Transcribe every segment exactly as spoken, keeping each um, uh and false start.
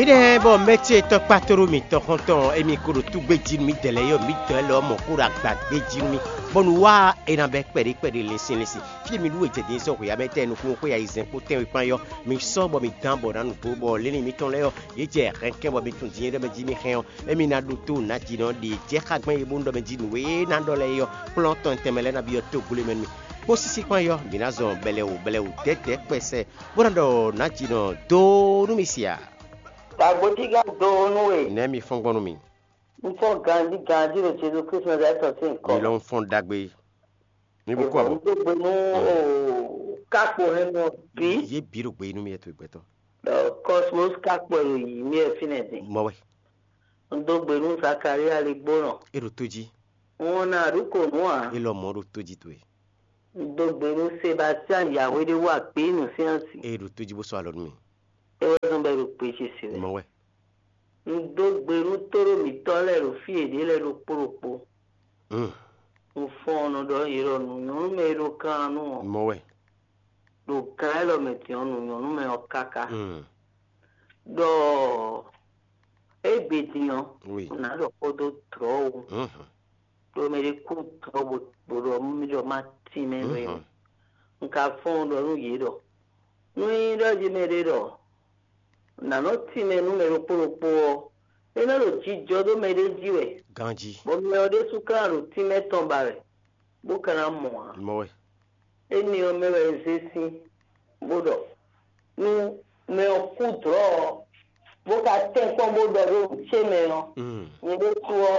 Énɛ́ bɔ mɛ́ ce tɔkpá tóɖó mǐtɔn xɔ́ntɔn émí kó ɖo túgbé jí nú mì dɛ̌ lɛ́ɛ yɔ mǐtɔn lɛ́ɛ lɔmɔ̌ kó ɖo agba gbé jí nú mì, bɔnu wá é ná bɛ́ kpɛɖé kpɛɖé lɛ́nsin lɛ́nsin. Fí e mi ɖu e jɛ din sɔ́ hweyǎmɛ tɛn nukúnnú xwé ayizɛ́n kpó tɛ́nwe kpán yɔ, mi sɔ́ bɔ mi dán bɔ ná nǔgbó bɔ lɛ́nlin mǐtɔn lɛ́ɛ ɔ́, yě jɛ hɛnkɛ́n bɔ mi tunwun din e ɖɔ mɛ jí mi hɛn ɔ́, émí ná ɖótó nǎ jí nɔ ɖe jɛ́ xá gbɛn e bó nú ɖɔ mɛ jí nǔ e ná ɖɔ lɛ́ɛ é ɔ́, kplɔ́n tɔn tɛnmɛ lɛ́ɛ ná byɔ́ tógblé mɛ nú mì. Kpó sísí kpán yɔ, mǐ ná zɔn bɛlɛwǔ bɛlɛwǔ dɛ́dɛ̌ kpɛsɛ, bó ná ɖɔ nǎ jí nɔ dó nú mì sia. Gbàgbójígán dó nú we. Nɛ̌ mi fɔ́n gbɔn nú mì? Un fɔ́n ganjí ganjí ɖo Jezu Kristu Nazalɛ́ti sín nyǐkɔ. Mi lɔ un fɔ́n ɖagbe. Mi bu kú àbɔ. Un dó gbe nú kákpo hɛn nɔ bí. Yě bǐ ɖo gbe yí nú mi wɛ towe gbɛtɔ́. Cosmos kákpo e ɖo yǐ mì wɛ fínɛ́ din. Mɔ wɛ. Un dó gbe nú Zakalía Ligbónɔ. É ɖo tó jí. Un ná ɖu kò nú ǎ. É lɔ mɔ̌ ɖo tó jí towe. Un dó gbe nú Sebastian Yahweh ɖé wá gbé nǔ sín asi. É ɖo tó jí bó sɔ́ alɔ nú mi. É wɛ zɔ́n bɔ é ɖo gbe ce se wɛ. Mɔ wɛ. Un dó gbe nú tóɖó mǐtɔn lɛ́ɛ ɖo fí yěɖée lɛ́ɛ ɖokpó ɖokpó. Un fɔ́n ɔ́ nɔ ɖɔ yě ɖɔ nǔ nyɔ́ nú mɛ e ɖo kan nú ɔ́. Mɔ wɛ. Ɖo gan élɔ́ mɛ din ɔ́, nǔ nyɔ́ nú mɛ ɔ́ káká. Ɖɔ égbé din ɔ́, Oui. Nǎ ɖɔ xó dó dlɔ̌ ó. Ɖó mɛ ɖé kú dlɔ̌ bó bó ɖɔ mí ɖɔ má tín mɛ nú é. Un ka fɔ́n ɖɔ nú yě ɖɔ nú nyí ɖɔ jí mɛ ɖé ɖɔ nǎ nɔ tín mɛ nú mɛ ɖokpó ɖokpó ɔ́, é nɔ ɖo jijɔ ɖó mɛ ɖé jí wɛ, Ganjí. Bɔ mɛ ɔ́ ɖésú ka ná ɖo tínmɛ tɔn ba wɛ, bó ka ná mɔ ǎ. Mɔ wɛ. Énɛ́ ɔ́ mɛ wɛ un zé sín, bó ɖɔ nú mɛ ɔ́ kú dlɔ̌ ɔ́, bó ka tɛ́nkpɔ́n bó ɖɔ ɖó nǔ ce mɛ ɔ́, nyɛ ɖésú ɔ́,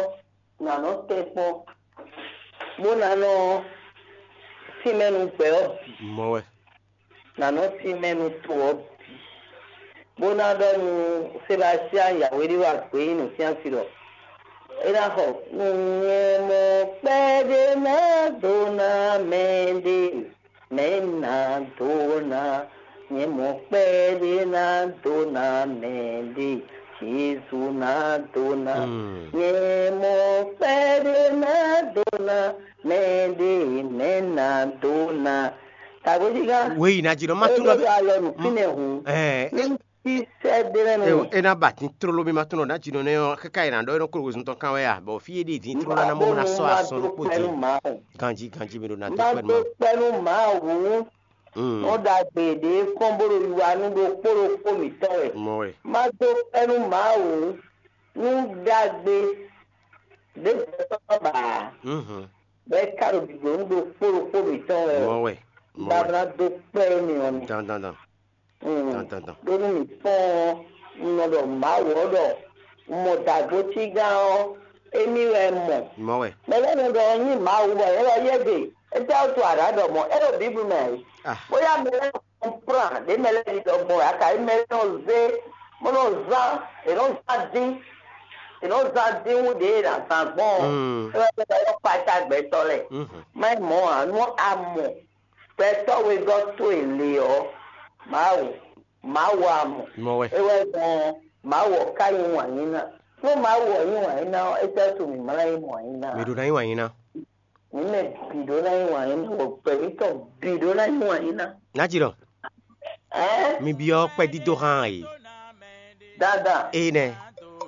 nǎ nɔ tɛ́nkpɔ́n, bó ná nɔ tínmɛ nú gbɛ ɔ́ bǐ. Mɔ wɛ. Nǎ nɔ tínmɛ nú to ɔ́ bǐ, bó ná ɖɔ nú Sebastian Yahweh ɖé wá gbé nyi nǔ sín asi ɖɔ é ná xɔ nú nyɛ mɔ kpɛɖé ná dó ná mɛ ɖé, mɛ ná dó ná nyɛ mɔ kpɛɖé ná dó ná mɛ ɖé, Jezu ná dó ná nyɛ mɔ kpɛɖé ná dó ná mɛ ɖé, mɛ ná dó ná. Tagbojígán. Wéyi ná jí nɔ má tún nɔ. Alɔ nǔ fínɛ́ hǔn. Ní sɛ ɖé lɛ́ɛ nɔ. É ná ba tín tlóló mì ma tún nɔ ná jí nɔ nɛ́ ɔ́ káká è nǎ ɖɔ é nɔ kó wezun tɔn kán wɛ a bɔ fí é ɖíe dín tlóló ná mɔ ná sɔ́ asɔn ɖokpó dín. Ganjí ganjí mi ɖo ná dó kpɛ́ nú má. Má dó kpɛ́ nú Mawu nú ɖagbe ɖě kɔn bó ɖo yiwa nú ɖokpó ɖokpó mǐtɔn wɛ. Mɔ wɛ. Má dó kpɛ́ nú Mawu nú ɖagbe ɖě gbɛtɔ́ ba ǎ. Bɔ é ka ɖo ɖiɖǒ nú ɖokpó ɖokpó mǐtɔn wɛ. Mɔ wɛ. Mɔ wɛ. Baba ná dó kpɛ́ énɛ́ ɔ́ mì. Dandan dan. Dandan dan. Ɖó nú mǐ kpɔ́n ɔ́, un nɔ ɖɔ Mawu ɔ́ ɖɔ un mɔ dǎgbócígán ɔ́, émí wɛ un mɔ. Mɔ wɛ. Mɛ lɛ́ɛ nɔ ɖɔ ɔ́ nyí Mawu bɔ yě wɛ yɛ́gbe. Étɛ́ wútu a nǎ ɖɔ mɔ̌? É ɖo Bíblu mɛ ǎ. Ah. Bóyá mɛ lɛ́ɛ nɔ kplán ɖě mɛ lɛ́ɛ ɖi ɖɔ gbɔn ǎ, kayi mɛ lɛ́ɛ nɔ zé bó nɔ zán, è nɔ zán dín, è nɔ zán dín wú ɖě è nǎ zán gbɔn ɔ́. Mm. É wɛ é wɛ kpácá gbɛtɔ́ lɛ́ɛ. Mhm. Má nyí mɔ̌ ǎ, nú a mɔ gbɛtɔ́ wegɔ́ towe lě ɔ́, Mawu, Mawu a mɔ. Mɔ wɛ. É wɛ gbɔn Mawu ɔ́ ka nyí wǎn yí ná. Nú Mawu ɔ́ nyí wǎn yí ná ɔ́, étɛ́ wútu mǐ ma ná nyí wǎn yí ná? Mi ɖó ná nyí wǎn yí ná. Mǐ mɛ bǐ ɖó ná nyí wǎn yí ná, bɔ gbɛ̌mítɔn bǐ ɖó ná nyí wǎn yí ná. Ná jí ɖɔ. Ɛ? Mi byɔ́ kpɛdídó hán e. Dandan. Ée nɛ́.